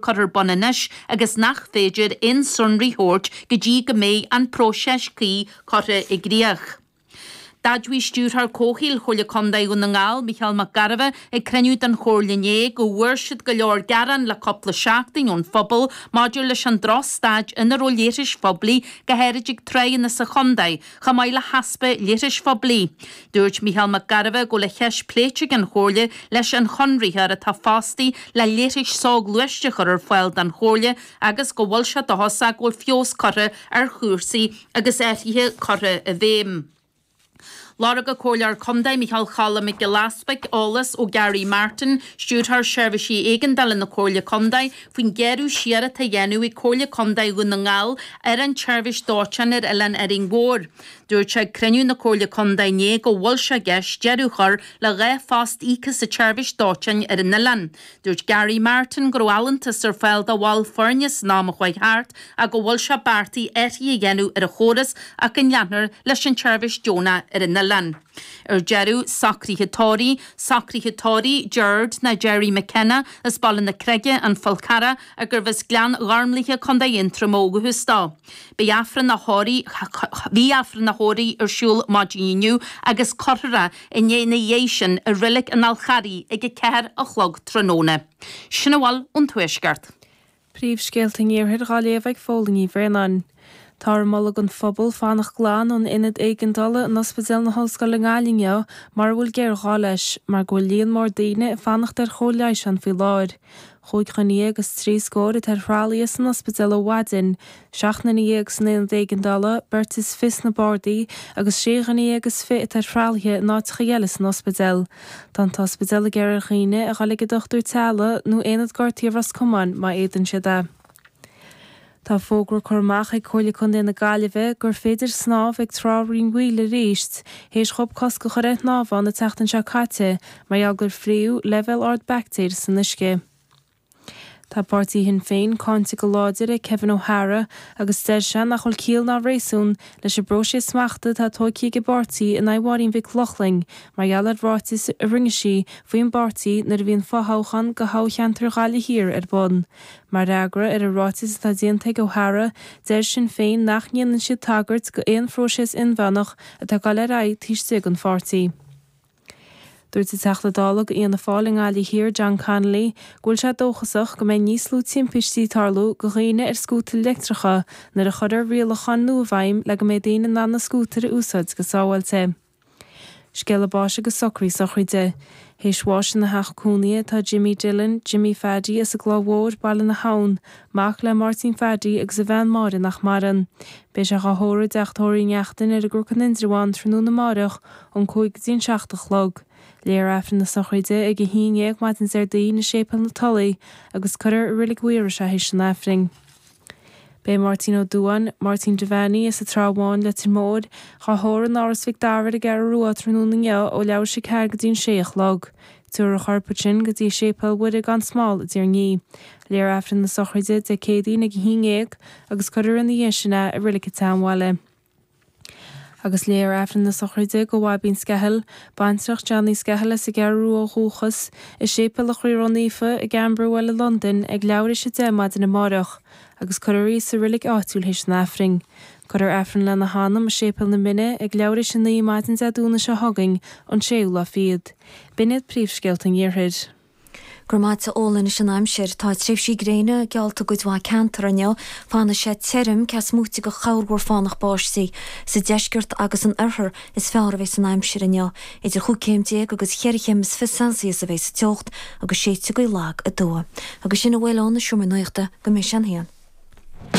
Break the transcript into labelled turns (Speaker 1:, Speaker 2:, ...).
Speaker 1: Curtha ar bun anois agus nach féidir aon sonraí thabhairt go dtí go mbeidh an próiseas cuí curtha i gcrích. D'admhaigh Stiúrthóir Comhshaoil Chomhairle Contae Dhún na nGall, Micheál Mac Gairbheith, ag cruinniú den Chomhairle inné go bhfuair siad go leor gearán le cúpla seachtain ón phobal maidir leis an drochstaid ina raibh leithris phoiblí, go háirid ag tráigheanna sa chontae, chomh maith le heaspa leithris phoiblí. Dúirt Micheál Mac Gairbheith go bhfuil an cheist pléite ag an Chomhairle leis an chonraitheoir atá fostaithe le leithris soghluaiste a chur ar fáil don Chomhairle agus go bhfuil sé dóchasach go bhfuil feabhas curtha ar chúrsaí agus athruithe curtha i bhfeidhm. Lorg an Comhairleoir Contae Micheál Choilm Mac Giolla Easbuig eolas ó Gary Martin, Stiúrthóir Seirbhísí Éigeandála na Comhairle Contae, faoin ghearradh siar atá á dhéanamh ag Comhairle Contae Dhún na nGall ar an tseirbhís dóiteáin ar Oileán Árainn Mhór. Dúirt sé ag cruinniú na Comhairle Contae inné go bhfuil sé i gceist deireadh a chur le 2 phost íoctha sa tseirbhís dóiteáin ar an oileán. Dúirt Gary Martin go raibh allúntas ar fáil do bhaill foirne san am a chuaigh thart ach go bhfuil sé beartaithe athruithe a dhéanamh ar an chóras ach go leanfar leis an tseirbhís deonach ar an oileán. Ar deireadh, socruithe tórraimh, Socruithe tórraimh Gerard nó Gerry McKenna as Baile na Creige, An Fál Carrach, gurbh as Gleann Ghormlaithe, Co. Aontroma ó dhúchas dó. Beidh Aifreann a thórraimh, Bhí Aifreann a thórraimh ar siúl maidin inniu agus cuirfear é ina dhiaidh sin i Reilig an Fháil Charraigh ag 4 a chlog tráthnóna. Sin a bhfuil ón Tuaisceart.
Speaker 2: Príomhscéalta an Iarthair dhá léamh ag Fódhla Ní Bhraonáin. Táthar ag moladh don phobal fanacht glan ón ionad éigeandála in Ospidéal na hOllscoile i nGaillimh inniu mar a bhfuil géarghá leis, mar go bhfuil líon mór daoine ag fanacht ar chóir leighis ann faoi láthair. Chúig dhuine dhéag is trí scór atá ar thralaithe san ospidéal ó mhaidin, 17 nduine san aonad éigeandála, beirt is fiche sna bardaí agus sé dhuine dhéag is fiche atá ar thralaithe in áiteacha eile san ospidéal. Tá an t-ospidéal ag iarraidh ar dhaoine a dhul ag a dochtúir teaghlaigh nó aonad gortaithe Ros Comáin má fhéadann siad é. Tá fógra curtha amach ag Comhairle Contae na Gaillimhe gur féidir snámh ag Trá Rinn Mhaoile arís théis dhóibh cosc a chur ar shnámh ann an tseachtain seo caite mar gheall gur fríodh leibhéal ard baictéir san uisce. Tá páirtí Shinn Féin cáinte go láidir ag Kevin O'Hara agus deir sé nach bhfuil ciall ná réasún leis an bpróiseas smachta atá tógtha ag an bpáirtí in aghaidh Mháirín Mhic Lochlainn mar gheall ar ráitis a rinne sí faoin bpáirtí nuair a bhí an fothoghchán do thoghcheantar Ghaillimh Thiar ar bun. Mar fhreagra ar an ráiteas atá déanta ag O'Hara, deir Sinn Féin nach ndéanann siad tagairt go aon phróiseas inmheánach atá ag dul ar aghaidh taobh istigh den pháirtí. Dúirt an Teachta Dála go Fhianna Fáil i nGaillimh Thiar, John Connolly, go bhfuil sé dóchasach go mbeidh níos lú timpistí ag tarlú go dhaoine ar scútair leictreacha nuair a chuirfear rialacháin nua i bhfeidhm le go mbeidh daoine in ann na scútair a úsáid go sábháilte. Scéala báis agus socruithe sochraide. Théis bháis ina theach cónaithe atá Jimmy Dillon, Jimmy Phaddy, as an gCloich Mhór, Baile na hAbhann, mac le Máirtín Phaddy agus a bhean Máire nach maireann. Beidh sé dhá thórramh i dTeach Tórraimh Uí Neachtain ar an gCnoc in Indreabhán tráthnóna amáireach ón 5 go dtí an 7 a chlog. Léifear Aifreann na sochraide ag 11 maidin Déardaoin i Séipéal na Tulaí agus cuirfear i Reilig Mhaorais é théis an Aifrinn. Beidh Máirtín Ó Dubháin, Máirtín Devaney, as an Trá Bháin, Leitir Móir, dhá thórramh in Áras Mhic Dara ar an gCeathrú Rua tráthnóna inniu ó leathuair tar éis a 4 go dtí an 6 a chlog. Tabharfar a chorp ansin go dtí Séipéal Mhuire gan Smál i dTír an Fhia. Léifear Aifreann na sochraide Dé Céadaoin ag 11 agus cuirfear ina dhiaidh sin é i Reilig an tSeanbhaile. Agus léifear Aifreann na sochraide do Bhaibín Skehill, baintreach Johnny Skehill as an gCeathrú Rua ó dhúchas, i Séipéal an Chroí Ró-Naofa i gCamberwell i Londain ag leathuair théis 10 maidin amáireach, agus cuirfear í sa reilig áitiúil théis an Aifrinn. Cuirfear Aifreann lena hanam i Séipéal na Mine ag leathuair théis 9 maidin Dé Domhnaigh seo chugainn, an séú lá fichead. B'in iad príomhscéalta an Iarthair.
Speaker 3: Go raibh maith a't a Fhódhla anois an aimsir. Tá tréimhsí gréine geallta i gcuid mhaith ceantar inniu. Fanfaidh sé tirim, cé is móite de chorrmhúr fánach báistí. Sa deisceart agus san oirthear is fearr a bheas an aimsir inniu. Idir chúig chéim déag agus cheithre chéim is fiche Celsius a bheas an teocht agus séidfidh gaoth lag aduaidh. Agus sin a bhfuil ón Seomra Nuachta go mbeidh sé an haon.